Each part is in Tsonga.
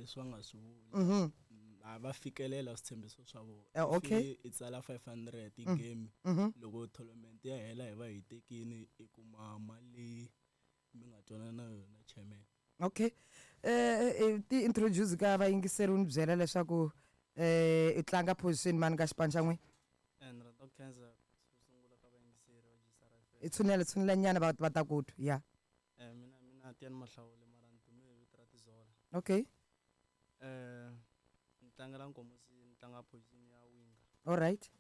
Leswi va nga swi vula. A va fikelela switshembiso swa vona. Okay. I tsala 500 game. Loko tournament ya hela hi va hi tekini i kuma mali leyi mi nga twanana na yona chairman. Okay. Ti introduce ka vayingiseri u ni byela leswaku i tlanga position mani ka xipano xa n'wina? Ni rhandza ku khensa xo sungula ka vayingiseri va GCR FM. I tshunela tshunela nyana va ta ku twa. Ya. Mina Tiyani Mahlawule mara ni dume hi vito ra Tizola. Okay. Ni tlangela Nkomosi, ni tlanga position ya winger. All right.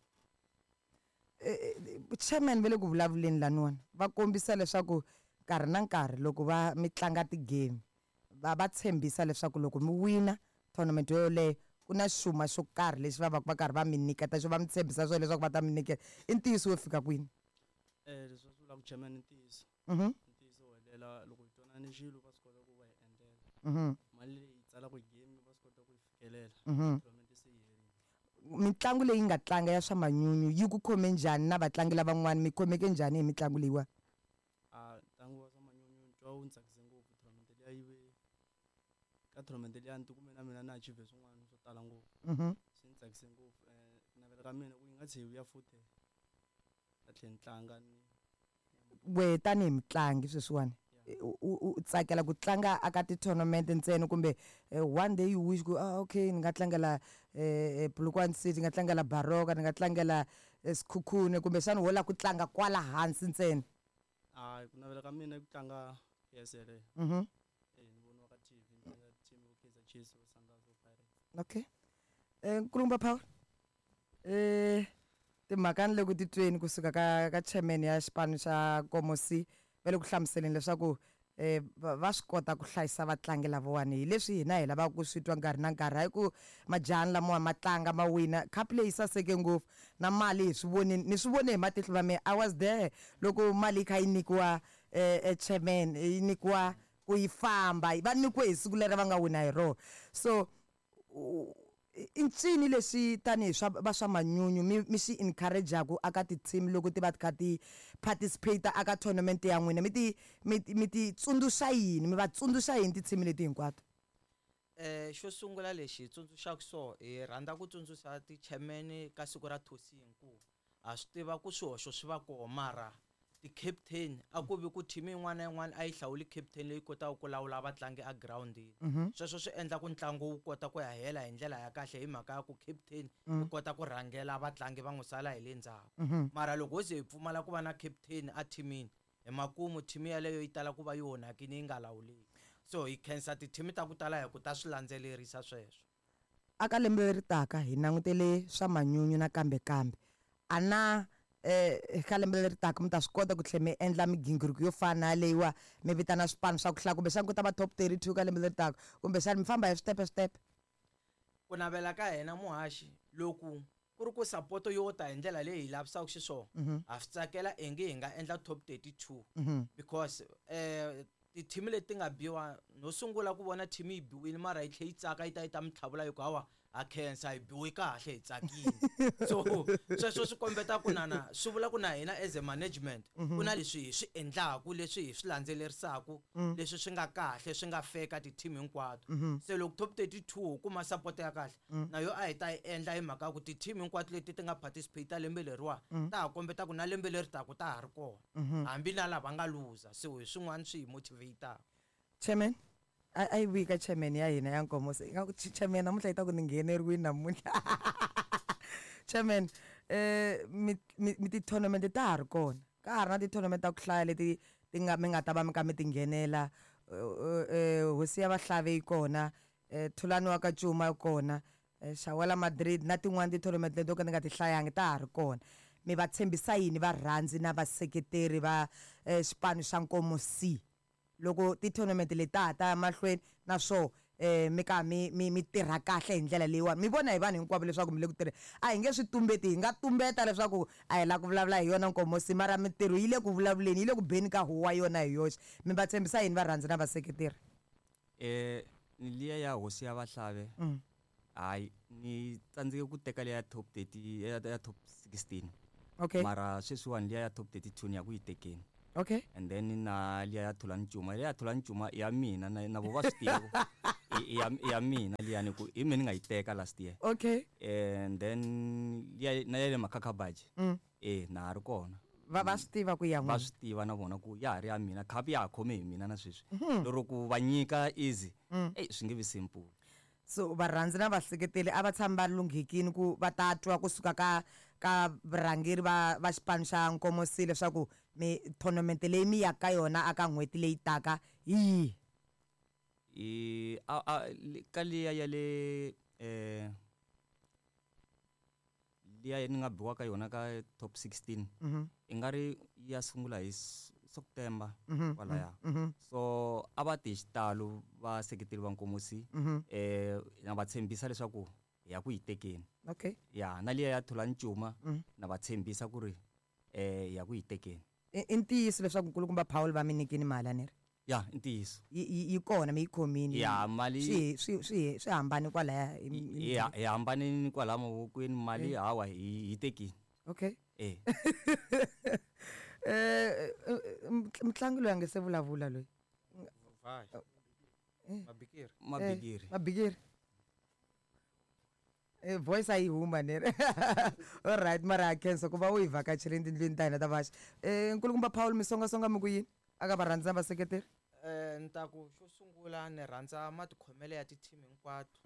Chairman va le ku vulavuleni laniwani va kombisa leswaku nkarhi na nkarhi loko va mi tlanga ti-game va tshembisa leswaku loko mi wina tournament yoyoleyo ku na xuma xo karhi lexi va va va karhi va mi nyiketa xo va mi tshembisa swona leswaku va ta mi nyiketa. I ntiyiso wo fika kwini? Leswi va swi vulaka chairman i ntiyiso. Ntiyiso wo helela loko hi twanane xilo va swi kota ku va hi endlela. Mali leyi hi tsalaka hi game va swi kota ku yi fikelela. Tournament se yi herile. Mitlangu leyi nga tlanga ya swa manyunyu yi ku khome njhani na vatlangi lavan'wana mi khomeke njhani hi mitlangu leyiwa? Ntlangu wa swa manyunyu ni twa wu ni tsakise ngopfu tournament liya yi ve ka tournament liya ni tikume na mina ni achieve swin'wana swo tala ngopfu. Swi ni tsakise ngopfu. Ku navela ka mina ku yi nga tlheli yi vuya futhi ta tlhela ni tlanga ni We tanihi mutlangi sweswiwani u tsakela ku tlanga aka ti-tournament ntsena kumbe one day you wish ku okay ni nga tlangela Polokwane City, ni nga tlangela Baroka, ni nga tlangela Sekhukhune kumbexana wo lava ku tlanga kwala hansi ntsena? Hayi, ku navela ka mina i ku tlanga PSL. Ni voniwa ka TV ni tlanga team vo Kaizer Chiefs, vo Sundowns, vo Pirates. Okay. Nkulukumba Power, timhaka ni le ku titweni kusuka ka chairman ya xipano xa Nkomosi va le ku hlamuseleni leswaku va swi kota ku hlayisa vatlangi lavawani hi leswi hina hi lavaka ku swi twa nkarhi na nkarhi hayi ku majahani lamawa ma tlanga ma wina cup leyi saseke ngopfu na mali hi swi vonini ni swi vone hi matihlo ma mina I was there loko mali yi kha yi nyikiwa chairman yi nyikiwa ku yi famba va nyikiwe hi siku leri va nga wina hi rona so i ncini lexi tanihi swa va swa manyunyu mi mi xi encourage-aku aka ti-team loko ti va ti kha ti participate aka tournament ya n'wina mi ti mi mi ti tsundzuxa yini mi va tsundzuxa yini ti-team leti hinkwato? Xo sungula lexi hi tsundzuxaka so hi rhandza ku tsundzuxa ti-chairman ka siku ra thosini ku ha swi tiva ku swihoxo swi va koho mara ti-captain a ku vi ku team yin'wana na yin'wana a yi hlawuli captain leyi kotaka ku lawula vatlangi egirawundini. Sweswo swi endla ku ntlangu wu kota ku ya hela hi ndlela ya kahle hi mhaka ya ku captain yi kota ku rhangela vatlangi va n'wi sala hi le ndzhaku. Mara loko ho ze hi pfumala ku va na captain a team-ini hi makumu team yaleyo yi tala ku va yi onhakile yi nga lawuleki. So hi khensa ti-team ta ku tala hi ku ta swi landzelerisa sweswo. Aka lembe leri taka hi langutele swa manyunyu nakambe kambe a na ka lembe leri taka mi ta swi kota ku tlhela mi endla migingiriko yo fana na yaleyiwa mi vitana swipano swa ku hlaya kumbexana ku ta va top 32 ka lembe leri taka kumbexana mi famba hi switepe switepe. Ku navela ka hina muhaxi loku ku ri ku sapoto yo ta hi ndlela leyi hi lavisaka xiswona ha swi tsakela ingi hi nga endla top 32 because ti-team leti ti nga biwa no sungula ku vona team yi biwile mara yi tlhe yi tsaka yi ta yi ta mi tlhavula yi ku hawa ha khensa hi biwe kahle hi tsakile so sweswo swi kombeta ku na swi vula ku na hina as a management ku na leswi hi swi endlaku leswi hi swi landzelerisaka leswi swi nga kahle swi nga fair ka ti-team hinkwato se loko top 32 ho kuma support ya kahle na yo a hi ta yi endla hi mhaka ya ku ti-team hinkwato leti ti nga participate lembe leriwa ta ha kombeta ku na lembe leri taka ta ha ri kona hambi na lava nga luza so hi swin'wana swi hi motivate-aka. Chairman a yi vuyi ka chairman ya hina ya Nkomo se ingaku chairman namuntlha yi ta ku ni ngheneriwini namuntlha chairman mi mi ti-tournament ta ha ri kona ka ha ri na ti-tournament ta ku hlaya leti ti nga mi nga ta va mi kha mi ti nghenela hosi ya vahlavi yi kona Thulani wa ka Cuma yi kona Xawela Madrid na tin'wana ti-tournament leti to ka ni nga ti hlayangi ta ha ri kona. Mi va tshembisa yini varhandzi na vaseketeri va xipano xa Nkomo C loko ti-tournament leti ta ha ta ya mahlweni na swoho mi ka mi mi mi tirha kahle hi ndlela leyiwani? Mi vona hi vanhu hinkwavo leswaku mi le ku tirheni. A hi nge swi tumbeti, hi nga tumbeta leswaku a hi lava ku vulavula hi yona Nkomo C mara mintirho yi le ku vulavuleni, yi le ku beni ka huwa yona hi yoxe. Mi va tshembisa yini varhandzi na vaseketeri? Ni liya ya hosi ya vahlave hayi ni tsandzeke ku teka liya ya top 30 ya top 16 okay mara sweswiwani liya ya top 32 ni ya ku yi tekeni okay and then na liya ya Thulani Cuma liya ya Thulani Cuma ya mina na vo va swi tiva. I ya mina liyani ku hi mina ni nga yi teka last year. Okay. And then liya na ya le Makhakhabaji. Na ha ri kona. Va swi tiva ku ya Va swi tiva na vona ku ya ha ri ya mina, khapu ya ha khome hi mina na sweswi. Lero ku va nyika easy, swi nge vi simple. So varhandzi na vaseketeli a va tshami va lunghekini ku va ta twa kusuka ka varhangeri va xipano xa Nkomosi leswaku mi tournament leyi mi yaka ka yona aka n'hweti leyi taka hi yihi? I a ka liya ya le liya ni nga biwa ka yona ka top 16. I nga ri ya sungula hi September kwalaya. So a va ti hi xitalo vaseketeli va Nkomosi. Na va tshembisa leswaku hi ya ku yi tekeni. Okay. Ya na liya ya Thulani Cuma na va tshembisa ku ri hi ya ku yi tekeni. I ntiyiso leswaku nkulukumba Paul va mi nyikini mali a ni ri? Ya, i ntiyiso. Yi kona mi yi khomile. Ya, mali Swi hambane kwalaya hi Ya, hi hambanile kwalaya mavokweni, mali hawa hi tekile. Okay. Mutlangi loyi a nge se vulavula loyi. Vai. Mabikiri. Mabikiri. Mabikiri. Voice a yi huma ni ri. All right, mara ha khensa ku va u hi vhakacherile tindlwini ta hina ta vaxi. Nkulukumba Paul, mi songasonga mi ku yini? A ka varhandzi na vaseketeri? Ni ta ku xo sungula ni rhandza matikhomelo ya ti-team hinkwato.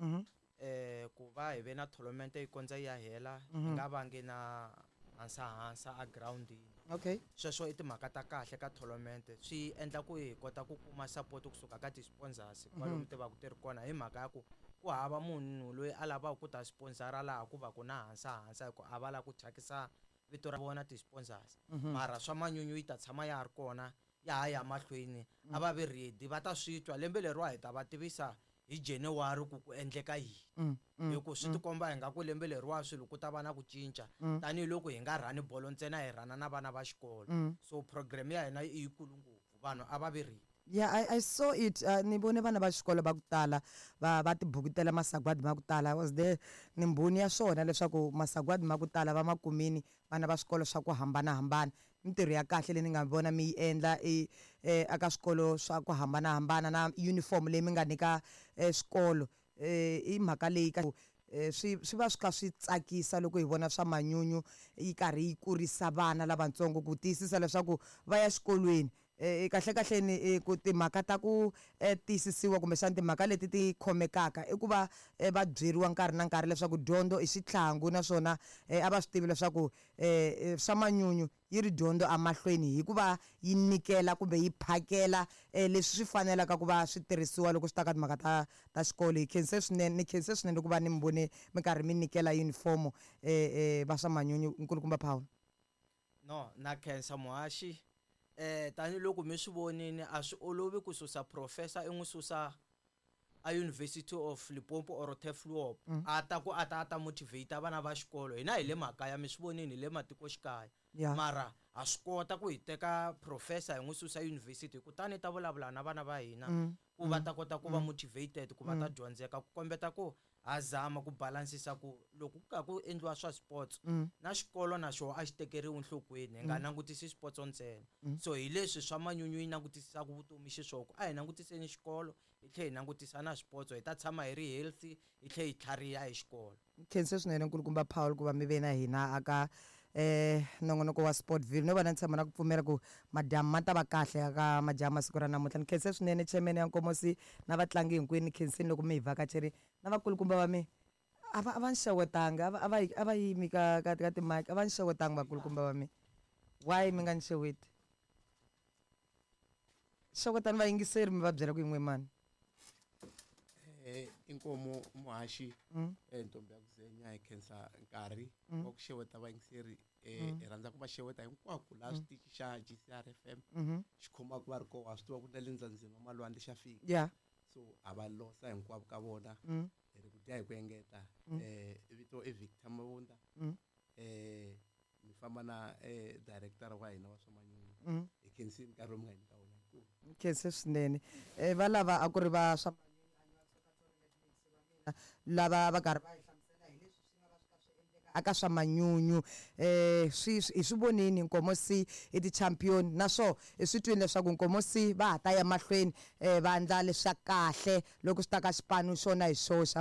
Ku va hi ve na tournament yi kondza yi ya hela, hi nga vangi na hansahansa a groundini. Okay. Sweswo i timhaka ta kahle ka tournament, swi endla ku hi kota ku kuma support kusuka ka ti-sponsors kwalomu ti va ku ti ri kona, hi mhaka ya ku ku hava munhu loyi a lavaka ku ta sponsora laha ku va ku na hansahansa, hi ku a va lava ku thyakisa vito ra vona ti-sponsors. Mara swa manyunyu yi ta tshama ya ha ri kona, ya ha ya mahlweni, a va vi ready, va ta swi twa lembe leriwa hi ta va tivisa hi January ku ku endleka yini. Hi ku swi tikomba hi nga ku lembe leriwa swilo ku ta va na ku cinca, tanihiloko hi nga rhani bolo ntsena, hi rhana na vana va xikolo. So program ya hina i yikulu ngopfu, vanhu a va vi ready. Yeah, I saw it. Ni vone vana va xikolo va ku tala va tibukutela masagwadi ma ku tala. I was there, ni mbhoni ya swona leswaku masagwadi ma ku tala va ma kumini vana va swikolo swa ku hambanahambana. Mintirho ya kahle leyi ni nga vona mi yi endla eka swikolo swa ku hambanahambana na uniform leyi mi nga nyika swikolo. I mhaka leyi ka swi va swi kha swi tsakisa loko hi vona swa manyunyu yi karhi yi kurisa vana lavatsongo ku tiyisisa leswaku va ya xikolweni. Kahle kahle ni ku timhaka ta ku tiyisisiwa kumbexana timhaka leti ti khomekaka i ku va va byeriwa nkarhi na nkarhi leswaku dyondzo i xitlhangu, naswona a va swi tivi leswaku swa manyunyu yi ri dyondzo emahlweni hikuva yi nyikela kumbe yi phakela leswi swi fanelaka ku va swi tirhisiwa loko swi ta ka timhaka ta xikolo. Hi khense swinene, ni khense swinene loko va ni mi vone mi karhi mi nyikela uniform va swa manyunyu. Nkulukumba Paul. No, na khensa muhaxi. Tanihiloko mi swi vonile, a swi olovi ku susa professor i n'wi susa a University of Limpopo or Turfloop. A ta ku a ta, a ta motivate vana va xikolo. Hina hi le makaya, mi swi vonile, hi le matikoxikaya. Mara ha swi kota ku hi teka professor hi n'wi susa university, kutani ta vulavula na vana va hina ku va ta kota ku va motivated, ku va ta dyondzeka, ku kombeta ku ha zama ku balansisa ku loko ku ka ku endliwa swa sports na xikolo na xona a xi tekeriwi enhlokweni, hi nga langutisi sports ntsena. So hi leswi swa manyunyu yi langutisisaka vutomi xiswona, ku a hi langutiseni xikolo hi tlhela hi langutisa na sports, hi ta tshama hi ri healthy, hi tlhela hi tlhariha hi xikolo. Khense swinene nkulukumba Paul ku va mi ve na hina aka nongonoko wa Sportville. No va na tshama na ku pfumela ku madamu ma ta va kahle ka majaha masiku ra namuntlha. Ni khense swinene chairman ya Nkomosi na vatlangi hinkwenu, ni khensini loko mi hi vhakacherile na vakulukumba va mina. A va ni xewetanga, a va yimi ka timike, a va ni xewetanga vakulukumba va mina. Why mi nga ni xeweti? Xewetani vayingiseri mi va byela ku yin'we mani. Inkomo muhaxi, ntombi ya ku zenya, hi khensa nkarhi wa ku xeweta vayingiseri. Hi rhandza ku va xeweta hinkwako laha switichi xa GCR FM xi khomaka va ri kona. Ha swi tiva ku na le ndzandzeni wa malwandle xa fika. So ha va losa hinkwavo ka vona. Hi ri ku dya hi ku engeta. Vito i Victor Mabunda. Mi famba na director wa hina wa swa manyunyu. Hi khensile nkarhi lowu mi nga hi nyika wona. Hi khense swinene. Va lava a ku ri va swa lava va karhi va hi hlamusela hi leswi swi nga va swi kha swi endleka aka swa manyunyu. Swi hi swi vonini Nkomosi i ti-champion, naswo hi swi twini leswaku Nkomosi va ha ta ya mahlweni va endla leswa kahle loko swi ta ka xipano xona hi xoxe.